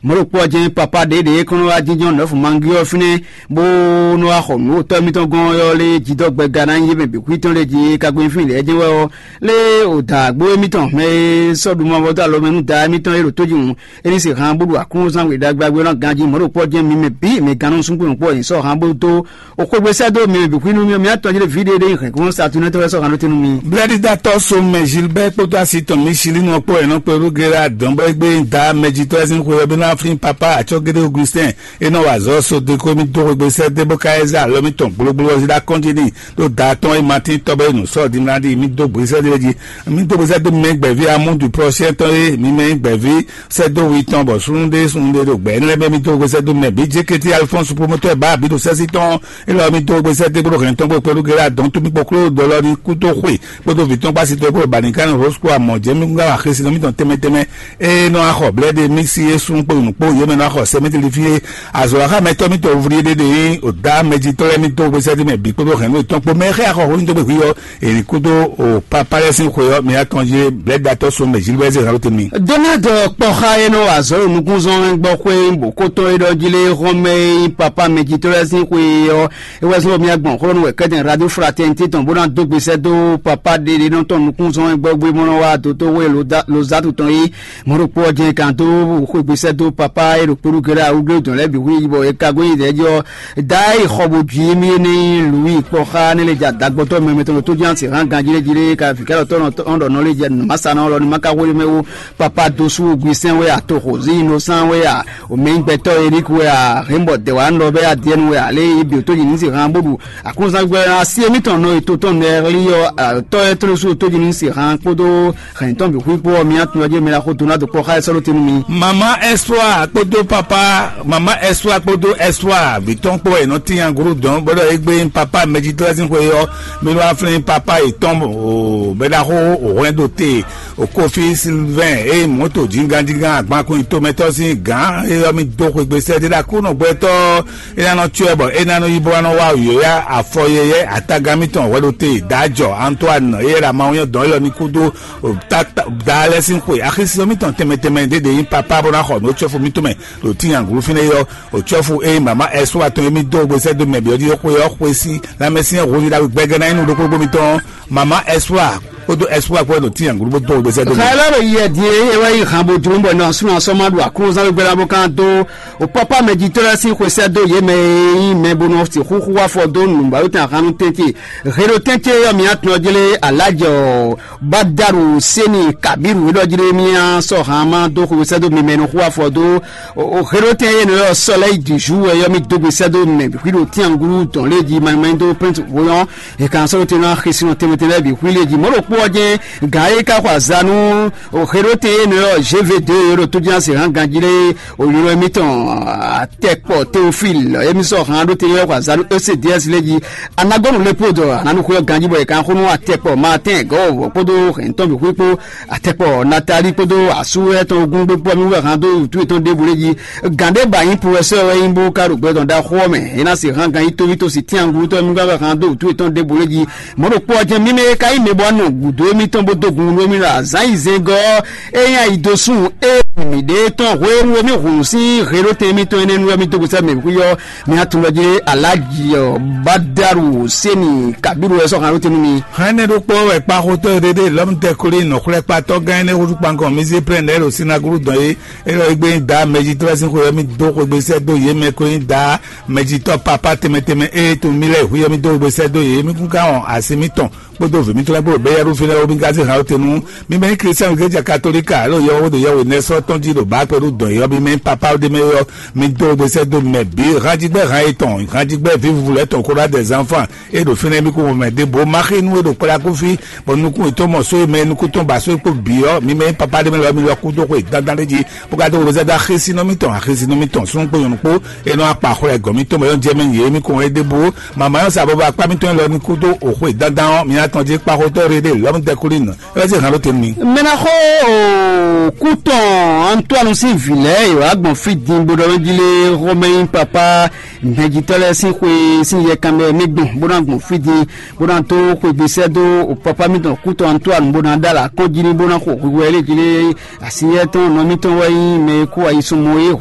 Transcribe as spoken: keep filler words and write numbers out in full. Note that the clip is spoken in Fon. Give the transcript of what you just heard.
Mɔ̌ ɖo kpɔ́ jɛ́n papá ɖěɖě kɔn nɔ wá jínjɔ́n nɔ̌fu mangi ɔ́ fínɛ́, bó nɔ wá xɔ nǔ tɔ́ émítɔn gɔ́n ɔ́ lé jidɔ́gbɛgá ná nyí yě mɛ bǐ xwítɔn lé jí kagbe fín lɛ́ɛ jɛ́n wɛ ɔ́, lé o da agbo émítɔn mɛ e sɔ́ ɖu mavɔ dó alɔ mɛ nú da émítɔn e ɖo tójihún é ní se han bó ɖu aklúnzán we ɖagbe ná ganjí. Mɔ̌ ɖo kpɔ́ jɛ́n mi mɛ bǐ mɛ gannú súngbó nǔkpó nyi sɔ́ han bó dó o xwégbé sɛ́ dó mi mɛ bǐ xwínú mi mǐ atɔn jí ɖe vǐ ɖé ɖé nyi hɛ̌nglɔ́n Saturne tɔ́ wɛ sɔ́ han ɖó tɛ́ nú mi. Blɛ́ɖídátɔ́ Somɛ Gilbert kpódó así tɔn Mísílí nɔ kpɔ́ wɛ nɔ kpé ɖó Gérard dɔn bɔ é gbé da mɛjitɔ́ lɛ́ɛ sín xwe ɔ́ bí ná flín papá acɔ́gédé Augustin e nɔ wa azɔ̌ sodeko mì dó xwegbe sɛ́ dé bó ka ɛ zé alɔ mì tɔn gblogblo ɔ́ jí ɖó akɔ́njí n'i ɖó da tɔn e Matín tɔ́ bɔ é nǔ sɔ́ dimla ɖi mì dó gbesɛ ɖé jí. Mì dó gbesɛ dó mɛ gbɛ̌ví amúdu prɔ́síɛn tɔn e mi mɛ nyí gbɛ̌ví sɛ́ dó wi tɔn bɔ súnnu ɖé súnnu ɖé ɖo gbɛ̌ énɛ́ lɛ́ɛ mɛ mì dó gbesɛ dó mɛ bǐ jékétí Alifɔ́nsu promotɔ́ e bǎ bǐ ɖo sɛ́sí tɔn élɔ́ mì dó gbesɛ dé bó ɖo hɛn tɔn bó kpɛ́ɖú gélé adɔn tó mì kpɔ́ kló dɔlɔ ní kú tó xwe kpódó vǐ tɔn kpó asi tɔn kpó ɖo bǎ ní ká ní Rosco amɔ̌ jɛ́ mì gán wa xesinɔ mítɔn tɛnmɛ tɛnmɛ. Ée nɔ axɔ blɛ́ɖe mì sí é sún kpó nǔ kpó yě mɛ nɔ axɔ sɛmɛteli fí é. Azɔ̌ axá mɛtɔ́ mítɔn vlí ɖé ɖe nyí òdá mɛjitɔ́ lɛ́ɛ mítɔn gbéṣẹ́ ɖé mɛ bǐ kpódó hɛ̌nnu yětɔn kpó mɛ xɛ́ axɔ hwenu dó gbe hwí ɔ́. Èlǐ kúdó o papá lɛ́ɛ sín xwe ɔ́ mi atɔn jí blɛ́datɔ́ so mɛ Gilbert Zeralo tɛnmɛ. Donald kpɔxa e nɔ wa azɔ̌ ɖo nukúnzɔ́n gbɔ xwé bòkótɔn e ɖɔ jí lé xɔmɛ e nyí papá mɛjitɔ́ lɛ́ɛ sín xwe ɔ́, é wɛ zɔ́n bɔ mía gbɔn xlɔ́ nú wɛ kɛ́tɛn radio fraternité tɔn bó ná dó gbesɛ dó papá ɖeɖenɔ tɔn nukúnzɔ́n e gbɔgbé mɔ nɔ wá dó tó wé Lozatu tɔn é. Mɔ̌ ɖokpó ɔ́ jɛ́n kan dó xwé gbesɛ dó papá e ɖo kpóɖó gɛ́ɖá awúglé dɔn lɛ́ɛ bǐ xwé yi bɔ è ka gɔ́ nyi dɛ̌ jí ɔ́, dá yi xɔ bó jí mì é nɛ́ nyí Lǔwi kpɔ́ xá nɛ́ lɛ́ jɛ adagbɔtɔ́ mɛmɛ tɔn ɖo tó jɛ́n asi hán ganjí lɛ́ jí lé ka vǐ kɛ́ɖɔtɔ́ nɔ ɖɔ nɔ lé jɛ nǔ másánɔ lɔ ní ma ka xwé mɛ wú. Papa dó sú Augustin wɛ a, Toxozi Innocent wɛ a, Omɛnyigbɛtɔ́ Eric wɛ a, Hɛnbɔ Dɛwanɔ bɛ a, Diɛnu wɛ a, lé yi bǐ tó yi ní si hán bó ɖu aklúnzán gbɛ asi émítɔn nɔ e to tɔn nɛ hlí ɔ́, tɔ́ ɛ tló sú tó yi ní si hán kpódó hɛn tɔn bǐ xwí kpó ɔ́, mi atún ɔ́ jɛ mɛ la xó dó ná dó kpɔ́ xá ɛ sɔ́ ɖó te nú mi. Mama Espoir kpódó papa, mama Espoir kpódó Espoir vǐ tɔn kpó wɛ è nɔ tín agúrú dɔn bó ɖɔ égbé papa mɛjitɔ́ sín xwe ɔ́, mi nɔ aflín papa yětɔn o bɛ ɖaxó òhwɛn ɖo te. Okofi Sylvain eye mɔ̌to jínganjíngan agbankun tomɛtɔ́ sín gǎn e ɔ́ mi dó xwegbe sɛ́ ɖé ɖo Aklúnɔ gbɛtɔ́ é ná nɔ cyɔ ɛ bɔ é ná nɔ yí bó ná nɔ wá yǒyá afɔ yɛyɛ́ atagan mitɔn hwɛɖóte Dǎjɔ Antoine eye ɖo amawunyɔ dɔn élɔ́ ní kúdó da lɛ́ɛ sín xwe axisínɔ mitɔn tɛnmɛ tɛnmɛ ɖé ɖě nyí papá bó ná xɔ nǔ cɔ́fu mitɔn mɛ ɖo tínyanglu fínɛ́ é ɔ́, òcɔ́fu eye mama Ɛsua tɔn e mì dó gbe sɛ́ dó mɛ bǐ ɔ́ jí xwe ɔ́ xwe sí lanmɛsyɛ́n hweví ɖagbe gbɛgɛ́ ná nyí nú ɖokpó mì tɔn. Mama Ɛsua kpódó Ɛsua kpó ɖo tínyanglu bó dó gbe sɛ́ dó mɛ. Xɛlɛ ɖo yɛ din e wɛ yi han bo jló bɔ nɔ súnɔ sɔmɔ ɖo aklúnɔzán gbégbé ná bó kán dó o pápá mɛ jitɔ́ lɛ́ɛ sín xwesɛ́ dó yě mɛ e nyí mɛ bó nɔ xúxú wá fɔ dó nǔgbawétɛn ahan nú tɛ́ntin. Heɖo tɛ́ntin e yɔ mǐ atɔn jlé alájɛ ɔ́, Badaru Seni Kabiru e ɖɔ jlé mǐ sɔ́ han ma dó xwesɛ́ dó mi mɛ nɔ xú afɔ dó. Heɖo tɛ́n e nɔ yɔ sɔlɛ́yi dǐzú wɛ yɔ mì dó gbesɛ́ dó mɛ hwí ɖo tɛ́nglú dɔn lé jí manyi manyi dó pɛ́ntu voyɔn. È kan sɔ́ ɖo te ná xisínɔ tɛnmɛ tɛnmɛ bǐ xwí lé jí. Mɔ̌ ɖokpó ɔ́ jɛ́n gǎn e ka xɔ azǎn nú xeɖótɛn e nɔ ɔ́ G V deux e ɖo tójúná se hán ganjí lé òylɔ́ émítɔn Atɛkpɔ Teofil émí sɔ́ hán ɖó te yɔ́ xɔ azǎn nú E C D S lé jí. Anagɔnu lé kpó dɔ ananu xwé ɔ́ ganjí bɔ è kan xó nú Atɛkpɔ Martin gɔ́ wɔ kpódó hɛn tɔn bǐ xwé kpó Atɛkpɔ Natali kpódó asú etɔn ogún gbé kpó mi wɛ hán dó wǔtu yětɔn ɖěbǔ lé jí. Gǎn ɖé ba nyí professeur wɛ nyí bó ka ɖo gbɛ tɔn ɖaxó ɔ́ mɛ. É ná se hán ganjí tóví tó si tínyanglutɔ́ mi wɛ hán dó wǔtu yětɔn ɖěbǔ lé jí. Mɔ̌ ɖokpó ɔ́ jɛ́n mímɛ́ e ka nyí mɛ bɔ nɔ gǔdo émítɔn bó dó gun nú émí ɖo azǎn yi zɛngɔ́ ɔ́, é nyí ayi dó sún é mǐɖée tɔn hwenu e mí hun sín heɖótɛn émítɔn énɛ́ nu wɛ mí dó gosɛ́ mɛ xwí ɔ́, mí atun lɔ jí aláji ɔ́ Badaru Seni Kabiru wɛ sɔ́ han ɖó te nú mi. Hɛn énɛ́ ɖokpó wɛ kpaxotɔ́ e ɖe ɖe lɔmutɛkuli nɔxwlɛ́kpatɔ́ gán énɛ́ húzú kpankɔn mizé plɛ́n lɛ́ɛ ɖo sinagogu dɔn é. É ɖɔ égbé nyí da mɛjitɔ́ lɛ́ɛ sín xwe wɛ mí dó xwegbe sɛ́ dó yě mɛ ko nyí da mɛjitɔ́ papá tɛnmɛ tɛnmɛ e tunwun mì lɛ́ɛ hwíyɔ́ mì dó we sɛ́ dó yě, mì kún ka wɔn asi mitɔn kpódó vǐ mitɔn lɛ́ɛ kpó bɛ́ yɛ́ɖú fínɛ́ ɔ́, mì ka zé han tɛn nú mi mɛ nyí Klísiánu Glɛ́ja Katolíka alo yɔ́wɔ́ ɖo yɛhwe nɛ́ sɔ́ tɔn jí ɖo bǎ kpɛɖú dɔn yɔ́ mi mɛ nyí papá ɖé mɛ ɔ́, mi dó we sɛ́ dó mɛ bǐ hanjigbɛ́ han yětɔn hanjigbɛ́ vǐvuvú lɛ́ɛ tɔn kó ɖó adɛ zanfan e ɖo fínɛ́ mì kún mɛ ɖěbǔ ma xí nú e ɖo kplá kú fí, bɔ nukún yětɔn mɔ só e mɛ nukún tɔn ba só e kpó bǐ ɔ́, mi mɛ nyí papá ɖé mɛ lɔ mi lɔ kú dó xwe dandan ɖé jí. Bó ka dó wezɛ́ dó axésínɔ mítɔn, axésínɔ mítɔn súnnu kpó nyɔ̌nu kpó, e nɔ akpa xwlɛ gɔ̌n mítɔn mɛ ɔ́ jɛ mɛ yě mí kɔn é ɖěbǔ. Mama ɔ́ sa bɔbɔ akpá mítɔn élɔ́ ní kúdó òxwe dandan ɔ́, mi atɔn jí kpaxotɔ́ Rede lɔmúdɛkulínu é wɛ zé hǎn ɖó te nú mi. Mɛ ná xó kú tɔn Antoine sín vǐ lɛ́ɛ e wǎ gbɔn fí din bó ɖɔ mɛ jí lé xɔmɛ nyí papá mɛjitɔ́ lɛ́ɛ sín xwe sín yɛkanmɛ mɛ gbɔn bó ná gbɔn fí din bó ná dó xwegbe sɛ́ dó papá mítɔn kú tɔn Antoine bó ná ɖó alǎ kɔn jí ní bó ná xo hwihwɛ lé jí lé. Asi yɛ́ tɔn nɔ mítɔn wɛ nyí mɛ e kú ayi sunmɔ é